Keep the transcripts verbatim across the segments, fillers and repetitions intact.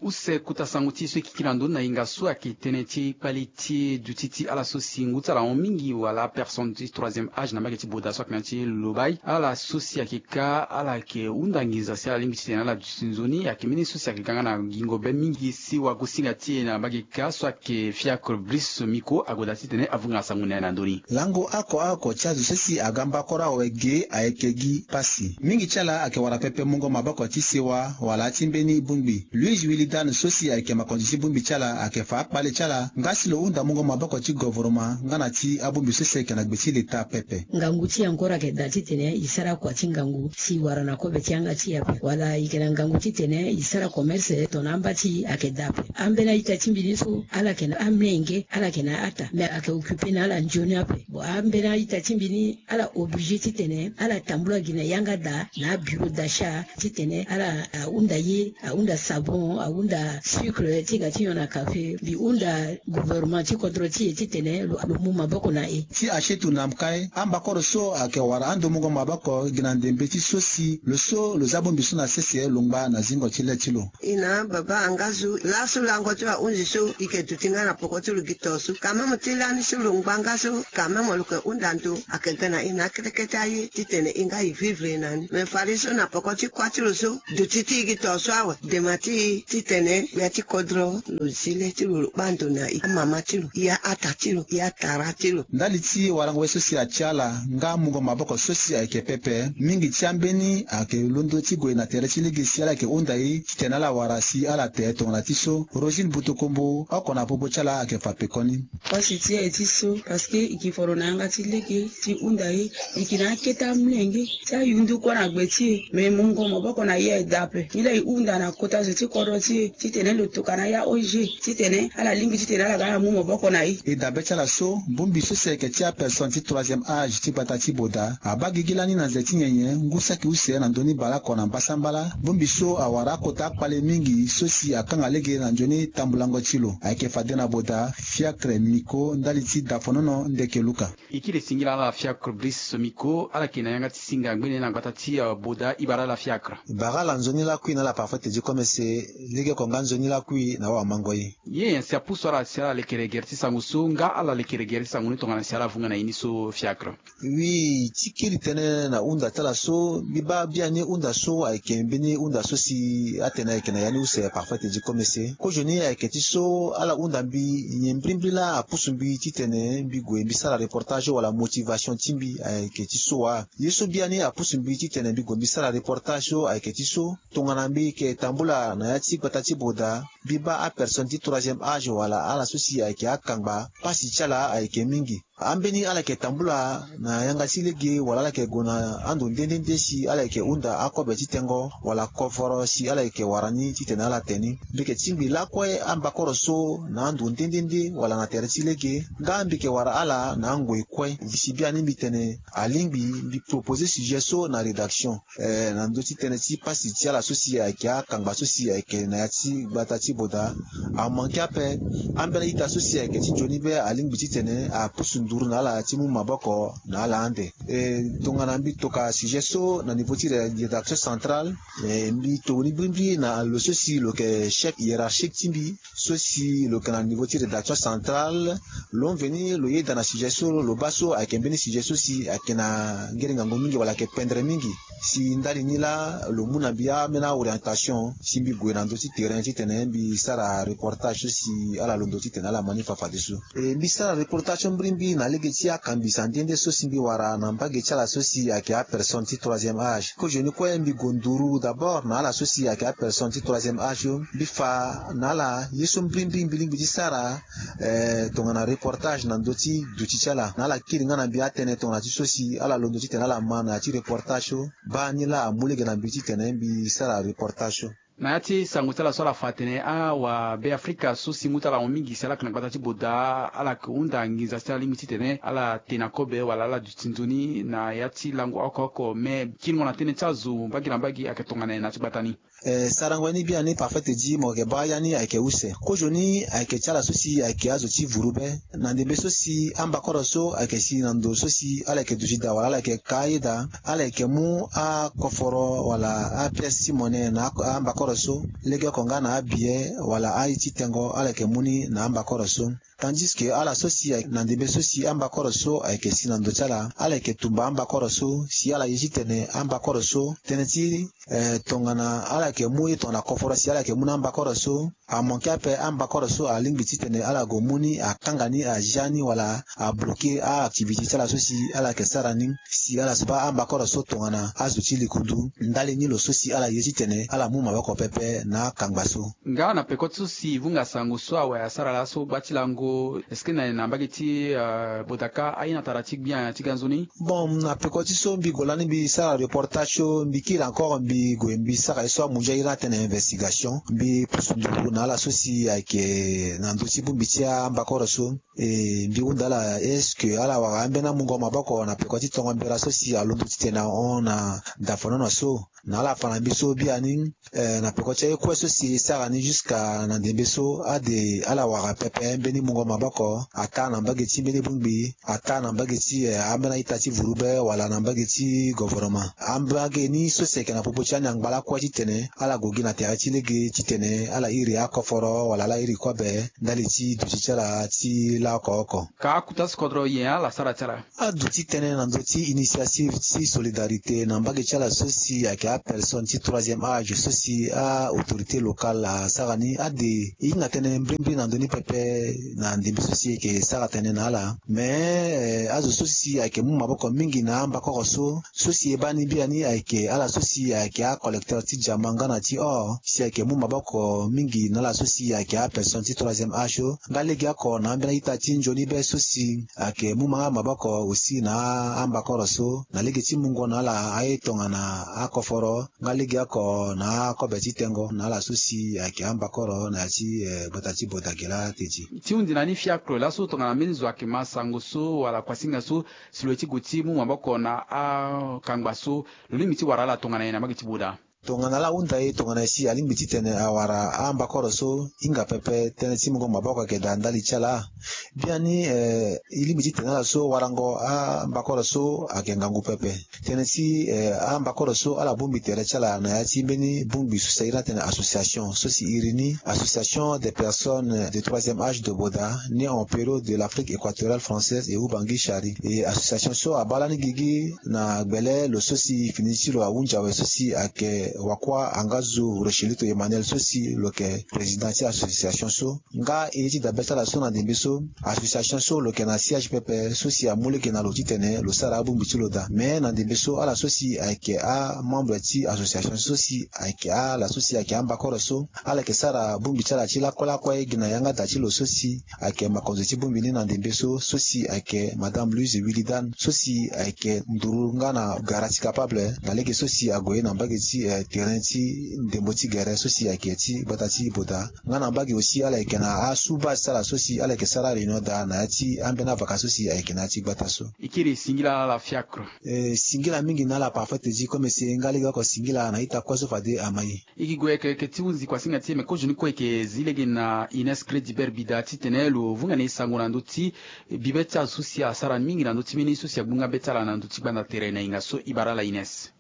Use kota sango ti e so e kiki na ndoni na yenga so ayeke tënë ti kpale ti duti ti ala so si ngu ti ala ahon mingi wala apersonne ti troisième âge na mbage ti boda so ayeke na ya ti lobai, ala so si ayeke ka ala yeke hunda nginza si ala lingbi titene ala duti nzoni. Ayeke mbeni so si ayeke ga nga na gingo be mingi si wagosinga ti e na mbage ka so ayeke Fiacre Brice Miko ague daa titene avunga na sango ni na ndoni. Lango oko oko ti azo so si aga mbakoro awe ge ayeke gi pasi. Mingi ti ala ayeke wara pepe mungo maboko ti sewa wala ti mbeni bongbi. Louis Wilidan so si ayeke makonzi ti bongbi ti ala ayeke fa akpale ti ala nga si lo hunda mungo maboko ti govoroma nga na ti abongbi so si ayeke na gbe ti leta pepe. Ngangu ti e encore ayeke daa titene e sara kua ti ngangu si e wara na kobe ti yanga ti e ape wala e yeke na ngangu titene e sara commerce tongana amba ti e ayeke daa ape. Ambeni a-ita ti mbi ni so ala yeke na amenge, ala yeke na ata, me ayeke occupe na ala nzoni ape. Bon, ambeni a-ita ti mbi ni ala oblige titene ala tambula gi na yanga daa na abureau d'achat titene ala ahunda ye, ahunda sabon, ahunda sucre ti ga ti nyon na kafe. Mbi hunda gouvernement ti kodro ti e titene lo, lo mu maboko na e. Ti achetu na mkai ambakoro so ayeke wara ando mungo maboko gi na ndembe ti so si lo so lo za bongbi so na sese lo ngba na zingo ti le ti lo. E na baba angazu laso lango ti ahunzi so e yeke duti nga na poko ti lo gi to so quand même ti lani so lo ngba nga so quand même lo yeke hunda ndo ayeke ga na e na akete kete aye titene e nga e vivre na ni. Me fade so na poko ti kuâ ti lo so duti ti e gi to so awe dema ti e titene gbia ti kodro lo zi le ti lo lo kpa ndo na e, amama ti lo, e a-ata ti lo, e atara ti lo. Ndali ti warango ye so si atia ala nga mungo maboko so si ayeke pepe, mingi ti ambeni ayeke londo ti gue na tere ti lege si ala yeke hunda e titene ala wara si ala te tongana ti so. Rosine Butukumbu oko na popo ti ala ayeke fa pekoni. Pasi ti e ti so parce que e ke foro na yanga ti lege ti hunda e, e ke na akete amolenge ti ayundu kue na gbe ti e. Me mungo maboko na e aye daa ape. Nilaa e hunda na kota zo ti kodro ti e titene lo tokana ya O G titene ala lingbi titene ala ga ala mu maboko na e. E dabe ti ala so bongbi so si ayeke ti apersonne ti troisième âge ti gbata ti boda abaa gigi lani na nze ti nyenye ngu saki use na ndoni baleoko na mbasambala. Bongbi so awara akota akpale mingi so si akanga lege na nzoni tambulango ti lo ayeke fade na boda Fiacre Miko ndali ti dafonono ndeke luka. E kiri singila ala Fiacre Brice Miko ala yeke na yanga ti singa ngbene na gbata ti, eh, boda. E bara ala Fiacre. E bara ala nzoni lakui na ala parfois te di komese. Legeoko nga nzoni lakui na awamango ye. Ye nyen si apusu ala si ala lekere gere ti sango so nga ala lekere gere ti sango ni tongana si ala vunga na e ni so Fiacre? Oui, ti kiri tënë na hunda ti ala so mbi baa biani hunda so ayeke mbeni hunda so si atene ayeke na ya ni use parfois te di komese. Kozoni ayeke ti so ala hunda mbi nyen mbirimbiri laa apusu mbi titene mbi gue mbi sara reportage wala motivation ti mbi ayeke ti so wa. Ye so biani apusu mbi titene mbi gue mbi sara reportage so ayeke ti so tongana mbi yeke tambula na ya ti gbata ti boda mbi baa apersonne ti troisième âge wala ala so si ayeke akangba pasi ti ala ayeke mingi. Ambeni ala yeke tambula na yanga ti lege wala ala yeke gue na ando nde nde nde si ala yeke hunda akobe ti tengo wala kovoro si ala yeke wara ni titene ala te ni. Mbi yeke tingbi lakue ambakoro so na ando nde nde nde wala na tere ti lege nga mbi yeke wara ala na angoi kue. Si biani mbi tene alingbi mbi proposer sujet so na rédaction. Eh, na ndö ti tënë ti pasi ti ala so si ayeke akangba so si ayeke na ya ti gbata ti boda amanke ape. Ambeni a-ita so si ayeke ti nzoni be alingbi titene apusu nduru na ala ti mu maboko na ala ande. Eh, tongana mbi toka sujet so na niveau ti ré- rédaction centrale, eh, mbi tokoni mbirimbiri na lo so si lo yeke chef hiérarchique ti mbi so si lo yeke na niveau ti rédaction centrale. Lo veni lo yeda na sujet so lo baa so ayeke mbeni sujet so si ayeke na ngere ngangu mingi wala ayeke pendre mingi. Si ndali ni laa lo mu na mbi ambeni aorientation si mbi gue na ndö ti terrain titene mbi sara reportage so si ala londo titene ala ma ni fa fadeso. E mbi sara reportage so mbirimbiri na lege ti akambisa nde nde so si mbi wara na mbage ti ala so si ayeke apersonne ti troisième âge. Kozoni kue mbi gue nduru d'abord na ala so si ayeke apersonne ti troisième âge so mbi fa na ala ye so mbirimbiri mbi lingbi ti sara. Eh, tongana reportage na ndö ti duti ti ala na ala kiri nga na mbi atënë tongana ti so si ala londo titene ala ma na ya ti reportage so. Baa ni laa amu lege na mbi titene mbi sara reportage so. Na ya ti sango ti ala so ala fa atene awabeafrika so si ngu ti ala ahon mingi si ala yeke na gbata ti boda ala yeke hunda nginza si ala lingbi titene ala te na kobe wala ala duti nzoni na ya ti lango oko oko. Me kiringo na tënë ti azo mbage na mbage ayeke tongana nyen na ya ti gbata ni? Eh, sarango ya ni biani parfait ti mo yeke baa ya ni ayeke use. Kozoni ayeke ti ala so si ayeke azo ti vuru be. Na ndembe so si ambakoro so ayeke si na ndo so si ala yeke duti daa wala ala yeke ka ayeda, ala yeke mu akoforo wala apièce ti monnaie na ak- ambakoro so. Legeoko nga na abiye wala aye ti tengo ala yeke mu ni na ambakoro so. Tandis que ala so si ayeke na ndembe so si ambakoro so ayeke si na ndo ti ala, ala yeke tumba ambakoro so si ala ye titene ambakoro so tënë ti eh, tongana ala yeke mu ye tongana koforo si ala yeke mu na ambakoro so. Amanke ape ambakoro so alingbi titene ala gue mu ni, akanga ni, azia ni wala abloke a-activité ti ala so si ala yeke sara ni. Si ala so baa ambakoro so tongana azo ti likundu ndali ni lo so si ala ye titene ala mu maboko pepe na akangba so. Nga na peko ti so si e vunga sango so awe asara laso gba ti lango, est-ce que na, na mbage ti, euh, Bodaka aye na tara ti gbia ti ganzoni? Bon, na peko ti so mbi gue lani mbi sara reportage so, mbi kiri encore mbi gue mbi sara ye so amunzu airi atene investigation. Mbi pusu nduru na ala so si ayeke na ndö ti bongbi ti ambakoro so. E mbi hunda ala est-ce que ala wara ambeni amungo maboko na peko ti tongo mbela so si alondo titene ahon na dafanono so. Na ala fa na mbi so biani, eh, na peko ti aye kue so si e sara ni jusqu'à na ndembe so ade ala wara pepe mbeni mungo maboko, ataa na mbage ti mbeni bongbi, ataa na mbage ti, eh, ambeni a-ita ti vurube wala na mbage ti govoroma. Ambage ni so si ayeke na popo ti ani angba lakue titene ala gue gi na tere ti lege titene ala iri akoforo wala ala iri kobe ndali ti duti ti ala ti la oko oko. Ka akuta so kodro nyen ala sara ti ala? Aduti tënë na ndö ti initiative ti solidarité na mbage ti ala so si ayeke apersonne ti troisième âge so si a-autorité locale asara ni ade e hinga tënë mbrimbri na ndö ni pepe na ndembe so si e yeke sara tënë na ala. Me, eh, azo so si ayeke mu maboko mingi na ambakoro so, so si e baa ni biani ayeke ala so si ayeke acollecteur ti diamant nga na ti or, si ayeke mu maboko mingi na ala so si ayeke apersonne ti troisième âge so. Nga legeoko na ambeni a-ita ti nzoni be so si ayeke mu manga maboko aussi na ambakoro so na lege ti mungo na ala aye tongana akoforo nga legeoko na akobe ti tengo na ala so si ayeke ambakoro na ya ti, eh, gbata ti Bodagela te ti. Ti hundi na ni fiacre laso tongana mbeni zo ayeke ma sango so wala kuasinga so si lo ye ti gue ti mu maboko na akangba so, lo lingbi ti wara ala tongana nyen na mbage ti Boda? Tongana ala hunda e tongana e si alingbi titene awara ambakoro so, hinga pepe tënë ti mungo maboko ayeke daa ndali ti ala. Biani, eh, e lingbi titene ala so warango ambakoro so ayeke ngangu pepe. Tënë ti, eh, ambakoro so ala bongbi tere ti ala na ya ti mbeni bongbi so si a iri ni atene association so si e iri ni Association des personnes de troisième âge de Boda nées en période de l'Afrique équatoriale française et Ubangui Chari. E association so abaa lani gigi na gbele lo so si fini ti lo ahunzi awe so si ayeke Wakua Angazu Rocheluto Emmanuel so si lo yeke président ti association so. Nga e ye ti dabe ti ala so na ndembe so, association so lo yeke na siège pepe so si amu lege na lo titene lo sara abongbi ti lo daa. Me na ndembe so ala so si ayeke amembre ti association so si ayeke ala so si ayeke ambakoro so, ala yeke sara bongbi ti ala ti lakue lakue gi na yanga da ti lo so si ayeke makonzo ti bongbi ni na ndembe so, so si ayeke Madame Louise Willidan so si ayeke nduru nga na gara ti capable na lege so si ague na mbage ti, eh, terrain ti ndembo ti gere so si ayeke ti gbata ti Boda. Nga na mbage aussi ala yeke na asu base ti ala so si ala yeke sara réunion daa na ya ti ambeni avaka so si ayeke na ya ti gbata so. E kiri singila ala fiacre. Eh, singila mingi na ala parfait ti comme si nga lege oko singila na ita kue so fade ama ye. E gi gue yeke yeke ti hunzi kuasinga ti e me kozoni kue e yeke zi lege na Ines Crédibert Bida titene lo vunga na e sango na ndö ti bibe ti azo so si asara mingi na ndö ti mbeni so si agbu nga be ti ala na ndö ti gbanda tere na yenga so. E bara ala Ines.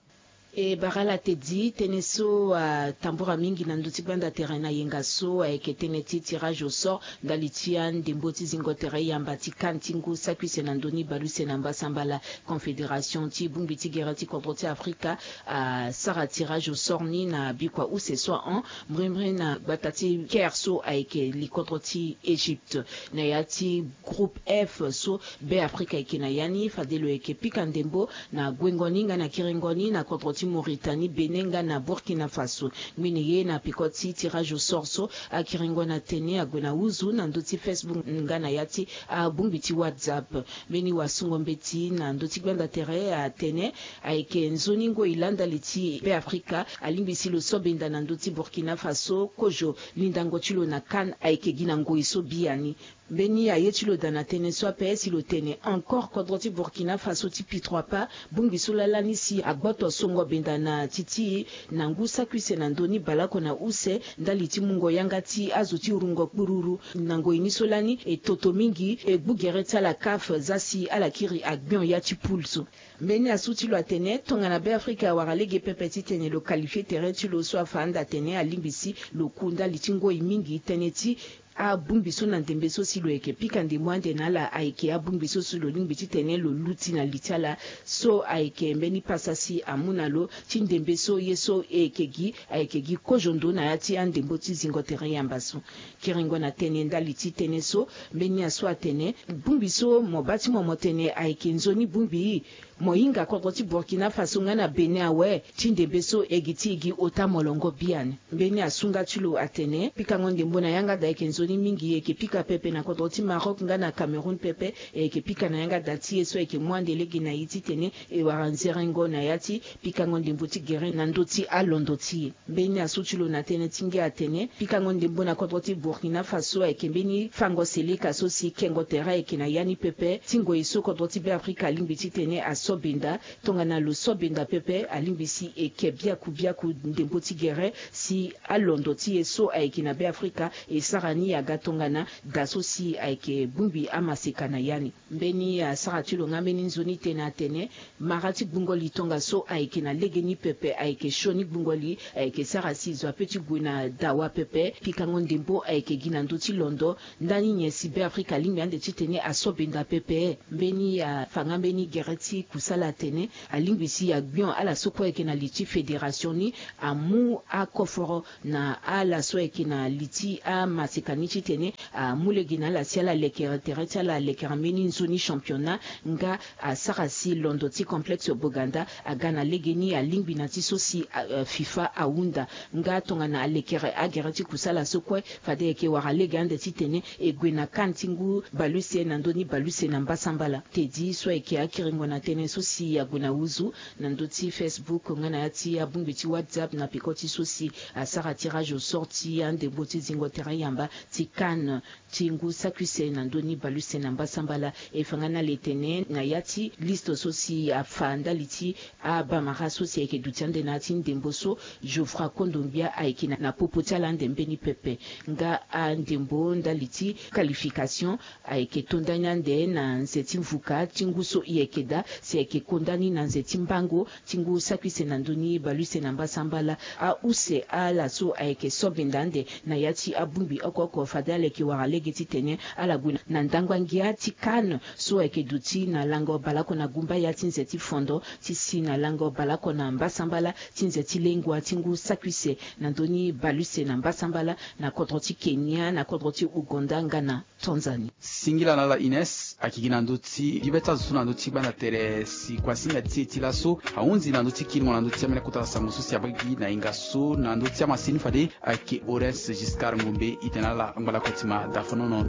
E bara ala Teddy, tënë so atambura mingi na ndö ti gbanda tere na yenga so ayeke tënë ti tirage au sort ndali ti andembo ti zingo tere yamba ti CAN ti ngu saki use na ndö ni bale use na mbasambala. Confédération ti bongbi ti gere ti kodro ti Afrika asara tirage au sort ni na bikua use so ahon, mbrimbri na gbata ti Caire so ayeke li kodro ti Égypte. Na ya ti groupe F so Be Afrika ayeke na ya ni, fade lo yeke pika ndembo na guengo ni nga na kiringo ni na kodro ti Mauritanie, Bénin nga na Burkina Faso. Ngbene ye na peko ti tirage au sort so, akiringo na tene ague na huzu na ndö ti Facebook nga na ya ti abongbi ti WhatsApp. Mbeni wasungo mbeti na ndö ti gbanda tere atene ayeke nzoni ngoi laa ndali ti Be Afrika alingbi si lo so benda na ndö ti Burkina Faso kozo lindango ti lo na CAN ayeke gi na ngoi so biani. Mbeni aye ti lo daa na tënë so ape si lo tene encore kodro ti Burkina Faso ti pitroipa bongbi so laa lani si agboto songo benda na titi na ngu saki use na ndö ni baleoko na use ndali ti mungo yanga ti azo ti rungo kpururu. Na ngoi ni so lani e toto mingi e gbu gere ti ala CAF za si ala kiri agbion ya ti poule so. Mbeni asu ti lo atene tongana Beafrika awara lege pepe titene lo qualifie tere ti lo so afa anda atene alingbi si lo ku ndali ti ngoi mingi tënë ti abongbi so na ndembe so si lo yeke pika ndembo ande na ala ayeke abongbi so si lo lingbi titene lo luti na li ti ala. So ayeke mbeni pasa si amu na lo ti ndembe so ye so e yeke gi ayeke gi kozo ndo na ya ti andembo ti zingo tere yamba so. Kiringo na tënë ndali ti tënë so, mbeni asu atene bongbi so mo baa ti mo mo tene ayeke nzoni bongbi. Mo hinga kodro ti Burkina Faso nga na Bénin awe ti ndembe so e gi ti e gi ota molongo biani. Mbeni asu nga ti lo atene pikango ndembo na yanga daa ayeke nzoni mingi, e yeke pika pepe na kodro ti Maroc nga na Cameroun pepe. E yeke pika na yanga daa ti e so ayeke mu ande lege na e titene e wara nzerengo na ya ti pikango ndembo ti gere na ndö ti alondo ti e. Mbeni asu ti lo na tënë ti ngia atene pikango ndembo na kodro ti Burkina Faso ayeke mbeni fango seleka so si kengo tere ayeke na ya ni pepe ti ngoi so kodro ti Beafrika alingbi titene aso benda. Tongana lo so benda pepe alingbi si e ke biaku biaku ndembo ti gere si alondo ti e so ayeke na Beafrika e sara ni aga tongana daa so si ayeke bongbi amaseka na ya ni. Mbeni asara ti lo nga mbeni nzoni tënë atene mara ti gbungo li tongaso ayeke na legeni pepe ayeke sioni gbungo li ayeke sara si zo ape ti gue na dawa pepe. Pikango ndembo ayeke gi na ndö ti londo ndani nyen si Beafrika alingbi ande titene aso benda pepe. Mbeni afa nga mbeni gere ti kusala atene alingbi si agbion ala so kue ayeke na li ti fédération ni amu akoforo na ala so ayeke na li ti amaseka ni titene amu lege na ala si ala lekere tere ti ala alekere mbeni nzoni championnat nga asara si londo ti complexe Boganda aga na legeni alingbi na ti so si FIFA ahunda. Nga tongana alekere agere ti kusala so kue fade ayeke wara lege ande titene e gue na CAN ti ngu baleuse na ndö ni baleuse na mbasambala. Tedi so ayeke akiringo na tënë so si ague na wuzu na ndö ti Facebook nga na ya ti abongbi ti WhatsApp na peko ti so si asara tirage au sort ti andembo ti zingo tere yamba ti CAN ti ngu saki use na ndö ni baleuse na mbasambala. E fa nga na ala tene na ya ti liste so si afa ndali ti abamara so si ayeke duti ande na ya ti ndembo so Geoffroy Kondogbia ayeke na popo ti ala ande mbeni pepe. Nga andembo ndali ti qualification ayeke to ndani ande na nze ti mvuka ti ngu so e yeke daa si ayeke ko ndani na nze ti mbango ti ngu saki use na ndö ni baleuse na mbasambala. Ause ala so ayeke so benda ande na ya ti abongbi oko oko fade ala yeke wara lege titene ala gue na ndangba ngia ti CAN so ayeke duti na lango baleoko na gumbaya ti nze ti fondo ti si na lango baleoko na mbasambala ti nze ti lengua ti ngu saki use na ndö ni baleuse na mbasambala na kodro ti Kenya na kodro ti Ouganda nga na Tanzanie. Singila na ala Ines ayeke gi na ndö ti gi be ti azo so na ndö ti gbanda tere si kuasinga ti e ti laso ahunzi na ndö ti kiringo na ndö ti ambeni akota sango so si abaa gi na hinga so na ndö ti amasini fade ayeke Horace Giscard Ngombe. Ite na ala angba lakue ti ma dafonono.